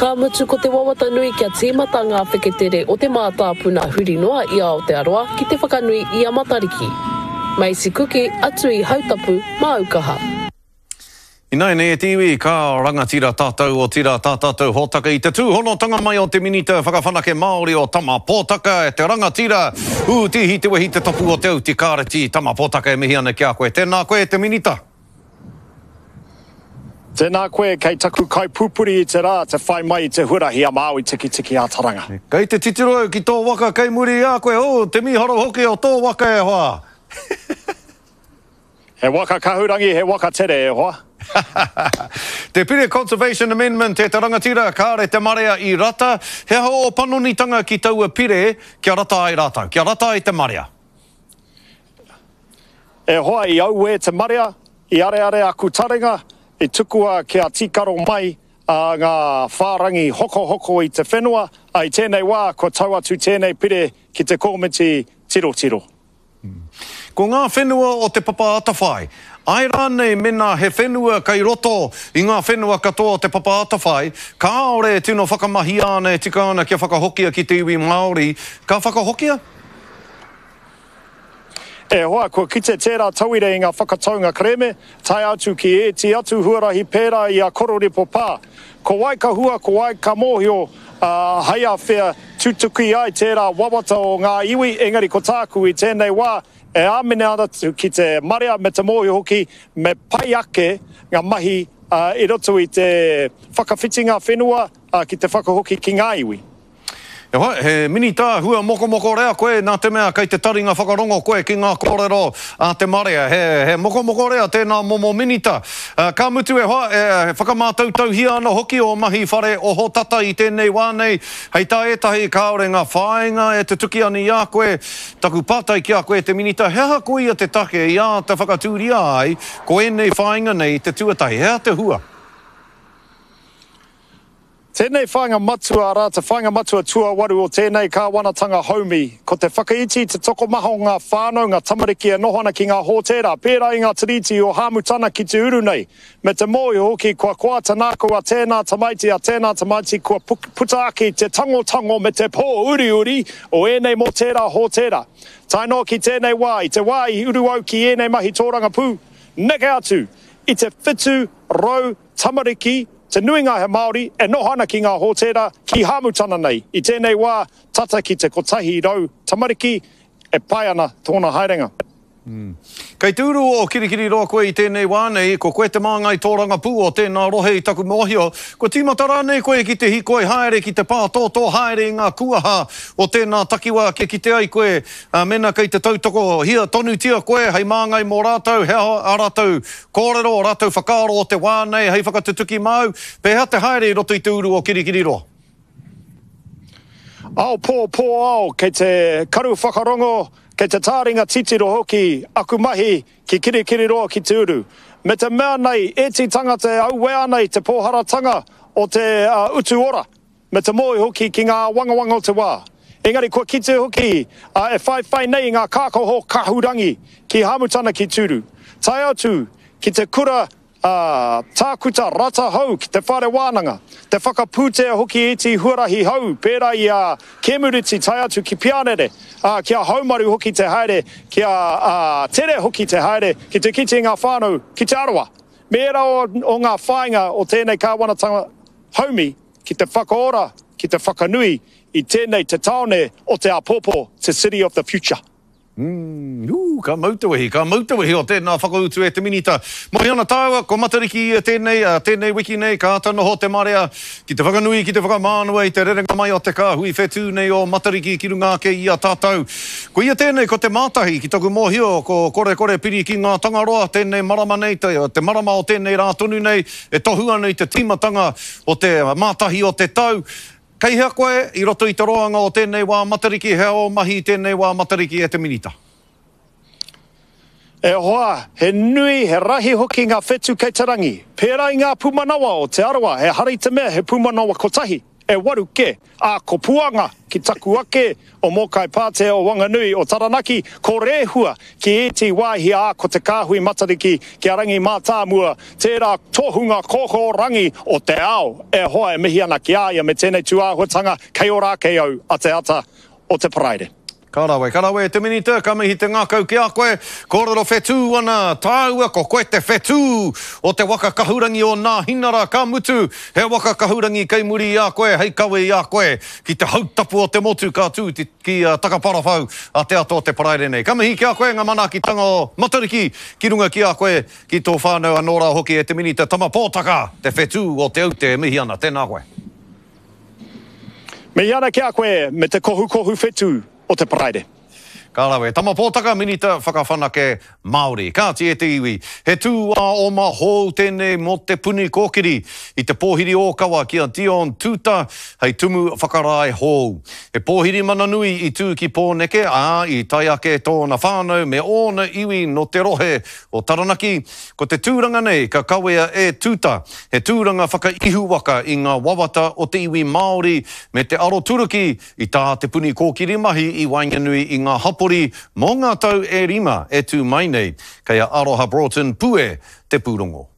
Ka mutu ko te wawata nui kia tīmata ngā wheketere o te mātāpuna huri noa i Aotearoa ki te whakanui i a Matariki. Macy Kuki, atu i Hautapu, māu kaha. Ināianei e te iwi, ka rangatira tātou, otirā tā tātou hōtaka i te tūhonotanga mai o te Minita Whakawhanake Māori o Tama Pōtaka, e te rangatira, ū tīhi te wehi te tapu o te auti kāreti, Tama Pōtaka e mihi ana ki a koe. Tēnā koe e te Minita. Tēnā koe, kei taku kaipupuri i te rā te whai mai i te huarahi a Māui Tikitiki a Taranga. Kei te titiro au ki tō waka kei muri i a koe, oh, te mīharo hoki o tō waka e hoa! He waka kahurangi, he waka tere e hoa. Te Pire Conservation Amendment e te rangatira, kāre te marea i rata. He aha ō panonitanga ki taua pire kia rata ai rātou, kia rata ai te marea? E hoa, i auē te marea, i areare aku taringa, i tukua kia tīkaro mai ngā whārangi hokohoko i te whenua, ā, i tēnei wā kua tau atu tēnei pire ki te kōmiti tirotiro. Ko ngā whenua o Te Papa Atawhai, āe rānei mēnā he whenua kei roto i ngā whenua katoa o Te Papa Atawhai, kāore e tino whakamahia ana e tika ana kia whakahokia ki te iwi Māori, ka whakahokia? E hoa, kua kite tērā tauira i ngā whakataunga kerēme, tae atu ki ēti atu huarahi pērā i a Kororipo Pā. Ko wai ka hua, ko wai ka mōhio, ā, hei āwhea tutuki ai tērā wawata o ngā iwi, engari ko tāku i tēnei wā, e āmine ana ki te marea me te mōhio hoki me pai ake ngā mahi i roto i te whakawhitinga whenua ki te whakahoki ki ngā iwi. E hoa, he minita hua mokomoko rea koe nā te mea kei te taringa whakarongo koe ki ngā kōrero a te marea. He, he mokomoko rea tēnā momo minita. Ka mutu e hoa, e whakamātautauhia ana hoki ō mahi whare ohotata i tēnei wā nei. Hei tā ētahi kāore ngā whāinga e tutuki ana i a koe. Taku pātai ki a koe e te minita, he aha koia te take i āta whakatūria ai ko ēnei whāinga nei te tuatahi? He aha te hua? Tēnei whāinga matua, arā, te whāinga matua tuawaru o tēnei kāwanatanga haumi, ko te whakaiti i te tokomaha o ngā whānau, ngā tamariki e noho ana ki ngā hōtēra, pērā i ngā tiriti o Hāmutana ki te uru nei, me te mōhio hoki kua koa te nākau a tēnā tamaiti, a tēnā tamaiti kua puta ake i te tangotango me te pōuriuri o ēnei mō tērā hōtēra. Tae noa ki tēnei wā, i te wā i uru au ki ēnei mahi tōrangapū, neke atu i te 700 tamariki, Te nuinga he Māori e noho ana ki ngā hōtēra ki Hāmutana nei. I tēnei wā, tata ki te 100 tamariki e pai ana tōna haerenga. Kei te uru o Kirikiriroa koe i tēnei wā nei, ko koe te māngai tōrangapū o tēnā rohe i taku mōhio. Kua tīmata rānei koe ki te hīkoi haere, ki te pātōtō haere i ngā kuaha o tēnā takiwā kia kite ai koe mēnā kei te tautokohia tonutia koe hei māngai mō rātou, he aha ā rātou Kōrero ō rātou whakaaro o te wā nei hei whakatutuki māu, pēhea te haere i roto i te uru o Kirikiriroa? Ao pō, pō ao, kei te karu whakarongo, kei te tāringa titiro hoki aku mahi ki Kirikiriroa ki te uru. Me te mea nei, ēti tangata e auē ana i te pōharatanga o te utu ora. Me te mōhio hoki ki ngā āwangawanga o te wā. Engari kua kite hoki a e whaiwhai nei i ngā kākaho kahurangi ki Hāmutana ki Tūru. Tae atu ki te kura a Tākuta Rata Hou ki te whare wānanga, te whakapūtea hoki iti huarahi hou pērā i a Kēmuriti tae atu ki Piarere, ā, kia haumaru hoki te haere, kia tere hoki te haere ki te kite i ngā whānau ki Te Arawa. Me ērā o ngā whāinga o tēnei kāwanatanga haumi ki te whakaora, ki te whakanui i tēnei te tāone o te āpōpō, te city of the future. Umm, ū, ka mau te wehi, ka mau te wehi o tēnā whakautu e te Minita. Moe ana tāua, ko Matariki ia tēnei, ā, tēnei wiki nei, ka āta noho te marea ki te whakanui, ki te whakamānawa i te rerenga mai o te kāhui whetū nei o Matariki ki runga ake i a tātou. Ko ia tēnei, ko te mātahi, ki taku mōhio, ko Korekore piri ki ngā Tangaroa, tēnei marama nei, te, te marama o tēnei rā tonu nei, e tohu ana i te tīmatanga o te mātahi o te tau. Kei hea koe i roto i te roanga o tēnei wā Matariki, hea ō mahi i tēnei wā Matariki e te Minita? E hoa, he nui, he rahi hoki ngā whetū kei te rangi. Pērā i ngā pūmanawa o Te Arawa, ehara i te mea he pūmanawa kotahi. e waru ke, ā, ko Puanga ki taku ake o Mōkai Pātea o Wanganui o Taranaki, ko Rehua ki ēti wāhi ā, ko Te Kāhui Matariki ki a Rangi Mātāmua, tērā tohunga kōkōrangi o te ao e hoa e mihi ana ki a ia me tēnei tūāhuatanga kei ora ake au a te ata o te Paraire. Ka rawe, ka rawe e te Minita, ka mihi te ngākau ki a koe. Kōrero whetū ana tāua, ko koe te whetū o te waka kahurangi o Nāhinara, ka mutu, he waka kahurangi kei muri i a koe hei kawe i a koe ki te hautapu o te motu ka tū ki Takaparawhau a te ata o te Paraire nei. Ka mihi ki a koe ngā manaakitanga o Matariki ki runga ki a koe, ki tō whānau anō rā hoki e te Minita Tama Pōtaka, te whetū o Te Aute e mihi ana. Tēnā koe. Mihi ana ki a koe me te kohukohu whetū o te Paraire. Ka rawe. Tama Pōtaka, Minita Whakawhanake Māori. Kāti e te iwi, he tūāoma hou tēnei mō Te Puni Kōkiri i te pōhiri ōkawa ki a Dion Tuuta hei tumu whakarae hou. He pōhiri mana nui i tū ki Pōneke, ā, i tae ake tōna whānau me ōna iwi nō te rohe o Taranaki, Ko te tūranga nei ka kawea e Tuta, he tūranga whakaihuwaka i ngā wawata o te iwi Māori me te aroturuki i tā Te Puni Kōkiri mahi i waenganui i ngā hapori mō ngā tau e rima e tū mai nei. Kei a Aroha Broughton Pue te pūrongo.